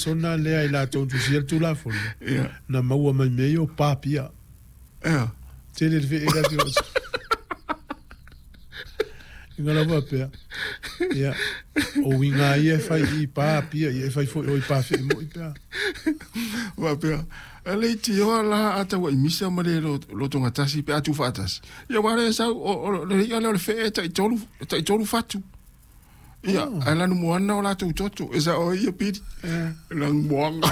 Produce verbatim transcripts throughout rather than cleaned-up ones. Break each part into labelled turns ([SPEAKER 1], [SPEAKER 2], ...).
[SPEAKER 1] lesona lea i latou na tusia le Tulafono,
[SPEAKER 2] Ia.
[SPEAKER 1] na maua mai mea ia o papia.
[SPEAKER 2] Ia.
[SPEAKER 1] Tele le fee le afioga. Inga lava pea. Ia, o uiga ia e fai i papia, ia e fai foi o i pafee moi pea.
[SPEAKER 2] Faapea, e le itioa la a tauaimisa ma le lotogatasi pe a tuufaatasi. Ia aua lea e sau, o, o le i'a lea o le fee e taitolu, e taitolu fatu. Ia, oh. Ae lanumoana o latou toto, e sa'o ai ia pili. Lanumoaga.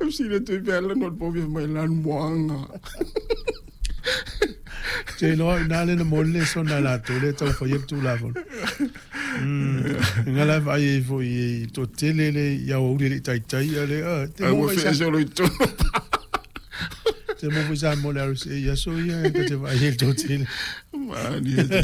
[SPEAKER 2] E fesili atu ai pe a lanu o le povi fai mai lanumoaga.
[SPEAKER 1] Te iloa i na le na moli le sona latou le tau fai le Tulafono. Mm. Nga la vai e foi i to tele le ia o ule le taitai a le ah, te
[SPEAKER 2] Ai
[SPEAKER 1] mo
[SPEAKER 2] ua
[SPEAKER 1] vai
[SPEAKER 2] fee
[SPEAKER 1] sa
[SPEAKER 2] se o lo i tonu.
[SPEAKER 1] te mo vai sa mo le R C ia so ia e te vai e to tele.
[SPEAKER 2] Mani e te.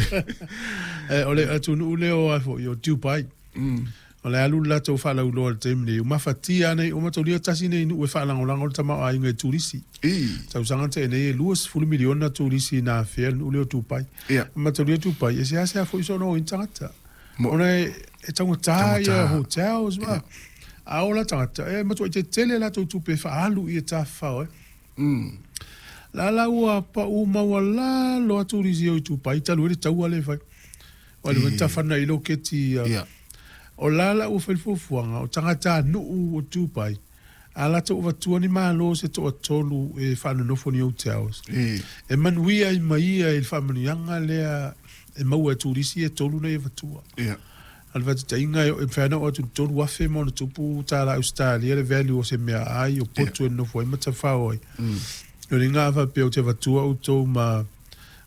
[SPEAKER 1] Eh, o le atunuu lea o ai foi o Dubai.
[SPEAKER 2] Mm.
[SPEAKER 1] O le alu le latou faalauiloa i le taimi nei, mafatia nei o mataulia tasi nei nuu e faalagolago le tamaoaiga i turisi.
[SPEAKER 2] I.
[SPEAKER 1] Tausaga tenei e lua sefulu miliona turisi na afea le nuu lea o Dubai.
[SPEAKER 2] Ia.
[SPEAKER 1] Mataulia Dubai, e seasea foi soona o ina tagata.
[SPEAKER 2] Mo-
[SPEAKER 1] Ona e e taugata ia
[SPEAKER 2] Taugata.
[SPEAKER 1] hotels ma. A ola tagata, e matuai tetele latou tupe e faaalu i e tafafao ai.
[SPEAKER 2] Mm.
[SPEAKER 1] La la ua pau maualalo atu turisi o i Dubai, talu ai le taua lea e fai. O le
[SPEAKER 2] I.
[SPEAKER 1] tafana i loketi ia.
[SPEAKER 2] Ia.
[SPEAKER 1] O la la ua fai le fuafuaga o tagatanuu o Dubai, a latou avatua ni malo se toatolu e faanonofo ni hotels.
[SPEAKER 2] I.
[SPEAKER 1] E manuia ai ma ia i le faamanuiaga lea e maua e turisi e tolu nei avatua.
[SPEAKER 2] Ia.
[SPEAKER 1] A le faataitaiga e e mafai ona oo atu i le tolu afe ma ona tupu tāla Australia le value o se mea ai o potu e nonofo ai ma tafao ai.
[SPEAKER 2] Mm.
[SPEAKER 1] O le ngā faapea o te avatua outou ma,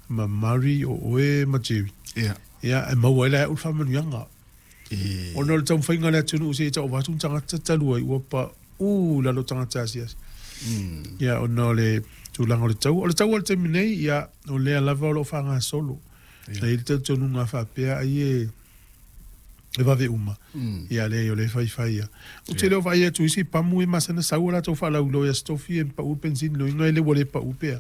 [SPEAKER 1] ma Murray o oe ma Jerry.
[SPEAKER 2] Ia.
[SPEAKER 1] Ia, e maua ai la e au le faamanuiaga.
[SPEAKER 2] I.
[SPEAKER 1] Ona o le taumafaiga le atunuu se i taova atu ni tagata talu ai ua pa u lalo tagata asiasi.
[SPEAKER 2] Mm.
[SPEAKER 1] Ia, ona o le tulaga o le taua. O le taua o le taimi nei, ia, o lea lava o loo faagasolo.
[SPEAKER 2] Ia.
[SPEAKER 1] Na i le talitonuga faapea ai e e vave uma.
[SPEAKER 2] Mm.
[SPEAKER 1] Ia, leai o le faifai ia. Ou te le o vaai atu isi pamu e masana sau o latou faalauiloa ia stofi e pau le pensini loiga e le ua le pau pea.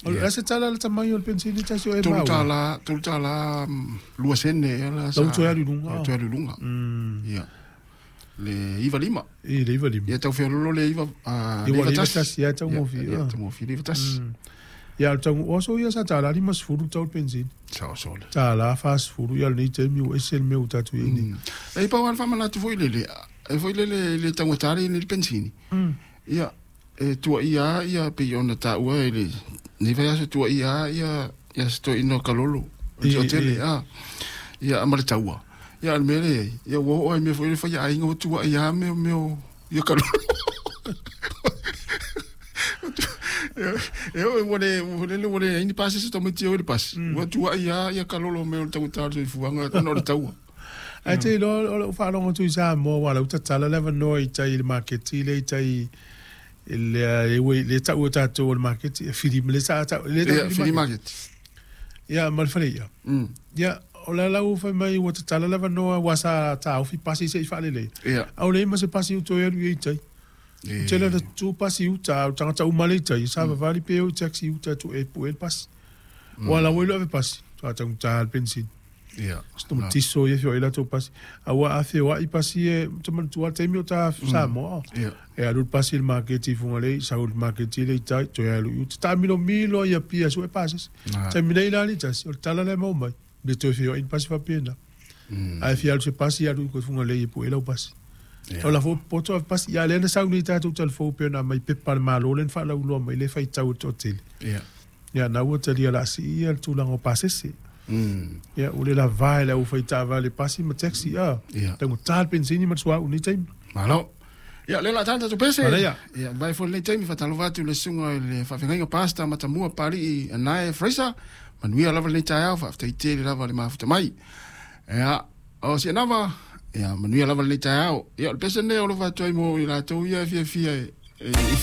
[SPEAKER 1] O le
[SPEAKER 2] Ia.
[SPEAKER 1] a se tala le tamai o le pensini tasi o e
[SPEAKER 2] Tolu
[SPEAKER 1] maua.
[SPEAKER 2] tālā, tolu tālā, mm, lua sene ia la sa.
[SPEAKER 1] Lau toe alu i luga.
[SPEAKER 2] Lau toe alu i luga.
[SPEAKER 1] Mm.
[SPEAKER 2] Ia. Le iva lima.
[SPEAKER 1] I le iva lima.
[SPEAKER 2] Ia tau feololo le iva, ah,
[SPEAKER 1] Iva
[SPEAKER 2] le iva
[SPEAKER 1] le iva
[SPEAKER 2] tasi.
[SPEAKER 1] tasi, ia, tau
[SPEAKER 2] Ia,
[SPEAKER 1] mofie,
[SPEAKER 2] ia,
[SPEAKER 1] ah.
[SPEAKER 2] tau mofie le iva tasi.
[SPEAKER 1] Mm. Ia, o le tau oso ia sa tālā lima sefulu tau le pensini.
[SPEAKER 2] Sao sole.
[SPEAKER 1] Tālā fasefulu ia lenei taimi ua ese le mea ua tatou i ai nei.
[SPEAKER 2] Mm. E pau a le faamanatu foi lele, e foi lele le taugata le le pensini.
[SPEAKER 1] Mm.
[SPEAKER 2] Ia, e tuaia ia pei ona taua e le nei vaiaso tuaia ia ia se toeaina o kalolo. O
[SPEAKER 1] I-
[SPEAKER 2] le toatele,
[SPEAKER 1] i.
[SPEAKER 2] a. Ia ma le taua. Ia o le mea lea ai, ia ua oo ai mea foi le faiaaiga ua tuaia mea mea o ia kalolo. E o ua le ua lele ua leai ni pasi se tamaiti e o i le pasi. Ua tuaia ia kalolo mea o le taugata o le soifuaga ona o le taua.
[SPEAKER 1] Ae te iloa o lou faalogo atu i Samoa ua lau tatala le avanoa i tai i le maketi lea i tai i le e ua- le tau o tatou o le maketi e fili le sa tau le tau
[SPEAKER 2] Ia,
[SPEAKER 1] fili
[SPEAKER 2] flea
[SPEAKER 1] market.
[SPEAKER 2] market.
[SPEAKER 1] Ia ma le fale ia.
[SPEAKER 2] Mm.
[SPEAKER 1] Ia o la lau fai mai ua tatala le avanoa ua sa taofi pasi se'i faalelei.
[SPEAKER 2] Ia.
[SPEAKER 1] A o leai ma se pasi uto e alu i ai tai.
[SPEAKER 2] E.
[SPEAKER 1] Tele na tu pasi uta, o tagata uma le i tai, sa vavali pe o i taxi uta tu e pue le pasi. Ua lau ai lo ave pasi, sa taugata le pensini.
[SPEAKER 2] Ia.
[SPEAKER 1] Stomatiso ia fio i latou pasi. A ua afeoai pasi e, te manatua le taimi o ta Samoa.
[SPEAKER 2] Ia.
[SPEAKER 1] E alu le pasi i le maketi i Fugalei, sau i le maketi le i tai, toe alu i uta. Taamilomilo ia pia sue pasese.
[SPEAKER 2] Ah.
[SPEAKER 1] Taimi nei la le tasi, o le tala lea e maua mai. Le toe feoai ni pasi faapena.
[SPEAKER 2] Mm.
[SPEAKER 1] Ae fia alu se pasi alu i koe Fugalei e pue lau pasi.
[SPEAKER 2] Ia.
[SPEAKER 1] O la fo poto ave pasi, ia lea na sau nei tatou talafou pe ona mai pepa a le Malo lea na faalauiloa mai le faitau e toatele.
[SPEAKER 2] Ia.
[SPEAKER 1] Ia na ua talia laasii ia le tulaga o pasese.
[SPEAKER 2] Mm.
[SPEAKER 1] Ia ua le lavā e le aufaitaavale pasi ma taxi a.
[SPEAKER 2] Ia.
[SPEAKER 1] Taugata le pensini ma le suauu nei taimi.
[SPEAKER 2] Malo. Ia, le la tata tu pese.
[SPEAKER 1] Manaia.
[SPEAKER 2] Ia, vai foi le taimi faatalofa atu i le susuga i le faafeagaiga pasta matamua Palii Anae Fraser. Manuia lava lenei taeao, faafetai tele lava le mafuta mai. Ia, o Sianava, ia, manuia lava lenei taeao. Ia, o le pese lenei o lo faatu ai mo i latou ia e fiafia e, e, i